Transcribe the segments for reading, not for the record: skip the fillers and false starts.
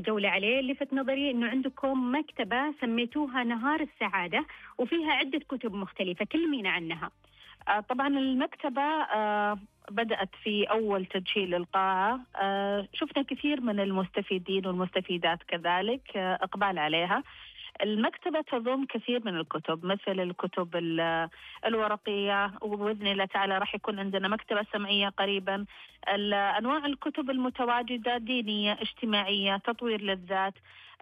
جولة عليه. لفت نظري إنه عندكم مكتبة سميتوها نهار السعادة وفيها عدة كتب مختلفة، كلمينا عنها. طبعا المكتبة بدأت في أول تدشين للقاعة. شفنا كثير من المستفيدين والمستفيدات كذلك إقبال عليها. المكتبة تضم كثير من الكتب، مثل الكتب الورقية، وبإذن الله تعالى راح يكون عندنا مكتبة سمعية قريبا. أنواع الكتب المتواجدة دينية، اجتماعية، تطوير للذات.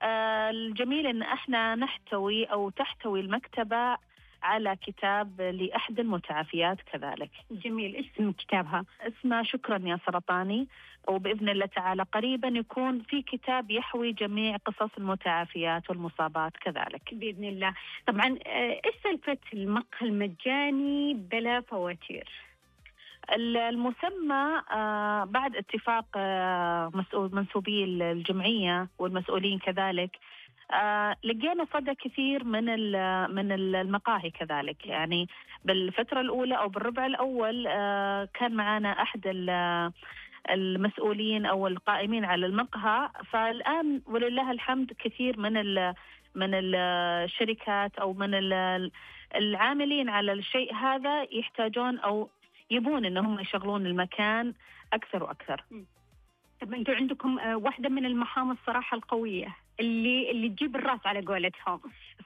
الجميل أن احنا نحتوي أو تحتوي المكتبة على كتاب لأحد المتعافيات كذلك. جميل. إيش اسم كتابها؟ اسمها شكرا يا سرطاني، وبإذن الله تعالى قريبا يكون في كتاب يحوي جميع قصص المتعافيات والمصابات كذلك بإذن الله. طبعا إيش سالفة المقهى المجاني بلا فواتير؟ المسمى بعد اتفاق منسوبي الجمعية والمسؤولين كذلك، لقينا صدى كثير من المقاهي كذلك. يعني بالفترة الأولى أو بالربع الأول كان معنا أحد المسؤولين أو القائمين على المقهى، فالآن ولله الحمد كثير من الشركات أو من العاملين على الشيء هذا يحتاجون أو يبون إنهم يشغلون المكان أكثر وأكثر. طب أنتوا عندكم واحدة من المهام الصراحة القوية اللي تجيب الراس على قولتهم.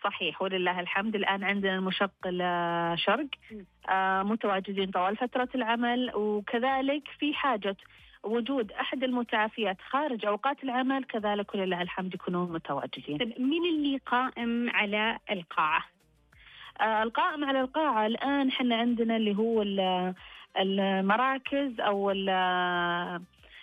صحيح ولله الحمد. الآن عندنا المشغل شرق متواجدين طوال فترة العمل، وكذلك في حاجة وجود أحد المتعافيات خارج أوقات العمل كذلك ولله الحمد يكونون متواجدين. طب مين اللي قائم على القاعة؟ القائم على القاعة الآن حنا عندنا اللي هو المراكز أو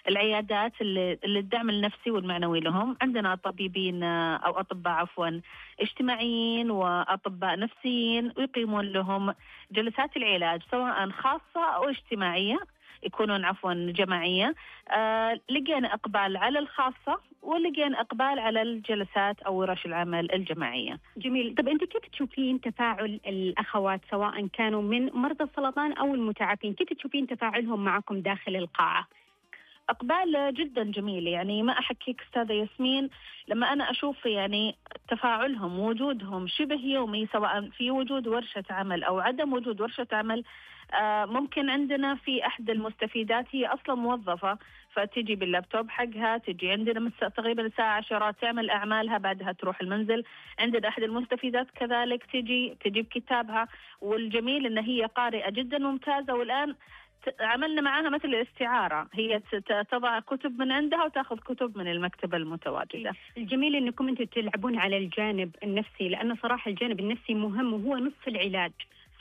العيادات اللي الدعم النفسي والمعنوي لهم. عندنا طبيبين أو أطباء عفوا اجتماعيين وأطباء نفسيين، ويقيمون لهم جلسات العلاج سواء خاصة أو اجتماعية، يكونون عفوا جماعية. لقينا إقبال على الخاصة ولقينا إقبال على الجلسات أو ورش العمل الجماعية. جميل. طب أنت كيف تشوفين تفاعل الأخوات سواء كانوا من مرضى السرطان أو المتعافين؟ كيف تشوفين تفاعلهم معكم داخل القاعة؟ إقبال جدا جميل. يعني ما أحكيك أستاذة ياسمين، لما أنا أشوف يعني تفاعلهم ووجودهم شبه يومي، سواء في وجود ورشة عمل أو عدم وجود ورشة عمل. ممكن عندنا في أحد المستفيدات هي أصلا موظفة، فتجي باللابتوب حقها، تجي عندنا تقريبا الساعة 10 تعمل أعمالها، بعدها تروح المنزل. عندنا أحد المستفيدات كذلك تجيب كتابها، والجميل أن هي قارئة جدا ممتازة. والآن عملنا معاها مثل الاستعارة، هي تضع كتب من عندها وتأخذ كتب من المكتبة المتواجدة. الجميل أنكم أنتم تلعبون على الجانب النفسي، لأنه صراحة الجانب النفسي مهم وهو نصف العلاج.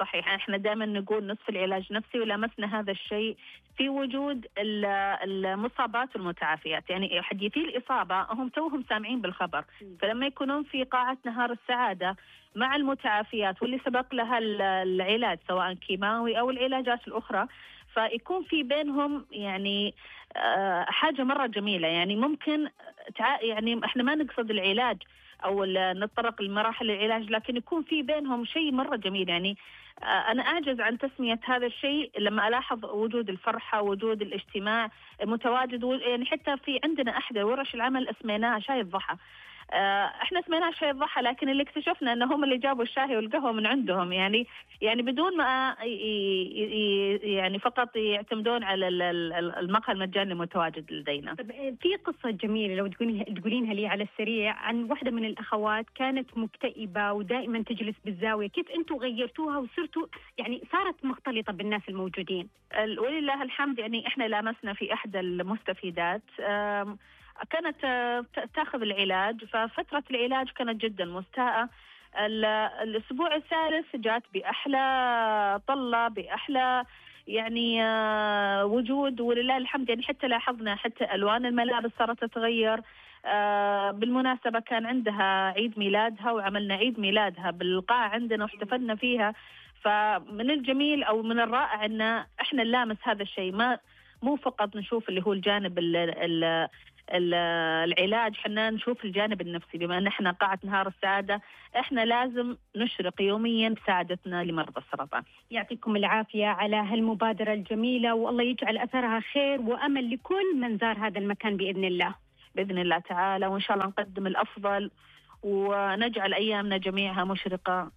صحيح. احنا دائما نقول نصف العلاج نفسي، ولمسنا هذا الشيء في وجود المصابات والمتعافيات. يعني حديثي الإصابة هم توهم سامعين بالخبر، فلما يكونون في قاعة نهار السعادة مع المتعافيات واللي سبق لها العلاج سواء كيماوي أو العلاجات الأخرى، فيكون في بينهم يعني حاجة مرة جميلة. يعني ممكن يعني احنا ما نقصد العلاج أو نتطرق لمراحل العلاج، لكن يكون في بينهم شيء مرة جميل. يعني أنا أعجز عن تسمية هذا الشيء لما ألاحظ وجود الفرحة، وجود الاجتماع متواجد. يعني حتى في عندنا أحد ورش العمل اسميناها شاي الضحى. احنا سميناها شاي الضحى، لكن اللي اكتشفنا انهم اللي جابوا الشاي والقهوة من عندهم، يعني بدون ما يعني فقط يعتمدون على المقهى المجاني المتواجد لدينا. طب في قصة جميلة لو تقولينها لي على السريع عن واحدة من الأخوات كانت مكتئبة ودائما تجلس بالزاوية، كيف أنتوا غيرتوها وصرتوا يعني صارت مختلطة بالناس الموجودين؟ ولله الحمد. يعني احنا لامسنا في احدى المستفيدات كانت تاخذ العلاج، ففترة العلاج كانت جدا مستاءة. الأسبوع الثالث جات بأحلى طلة، بأحلى يعني وجود ولله الحمد. يعني حتى لاحظنا حتى ألوان الملابس صارت تتغير. بالمناسبة كان عندها عيد ميلادها وعملنا عيد ميلادها بالقاعة عندنا واحتفلنا فيها. فمن الجميل أو من الرائع أن إحنا نلامس هذا الشيء، مو فقط نشوف اللي هو الجانب العلاج، حنا نشوف الجانب النفسي. بما أن احنا قاعة نهار السعادة، احنا لازم نشرق يوميا بسعادتنا لمرضى السرطان. يعطيكم العافية على هالمبادرة الجميلة، والله يجعل أثرها خير وأمل لكل من زار هذا المكان بإذن الله. بإذن الله تعالى، وإن شاء الله نقدم الأفضل ونجعل أيامنا جميعها مشرقة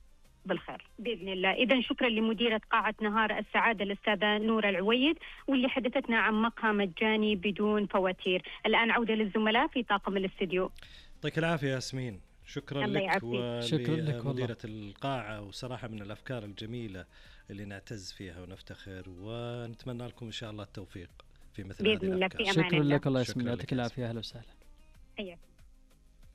بالخير بإذن الله. إذا شكرا لمديرة قاعة نهار السعادة الأستاذة نورة العويد، واللي حدثتنا عن مقهى مجاني بدون فواتير. الآن عودة للزملاء في طاقم الاستديو. يعطيك العافية ياسمين، شكرا لك ولمديرة القاعة، وصراحة من الأفكار الجميلة اللي نعتز فيها ونفتخر، ونتمنى لكم إن شاء الله التوفيق في مثل هذه الأفكار. شكرا لك الله يسمي، يعطيك العافية. أهلا وسهلا.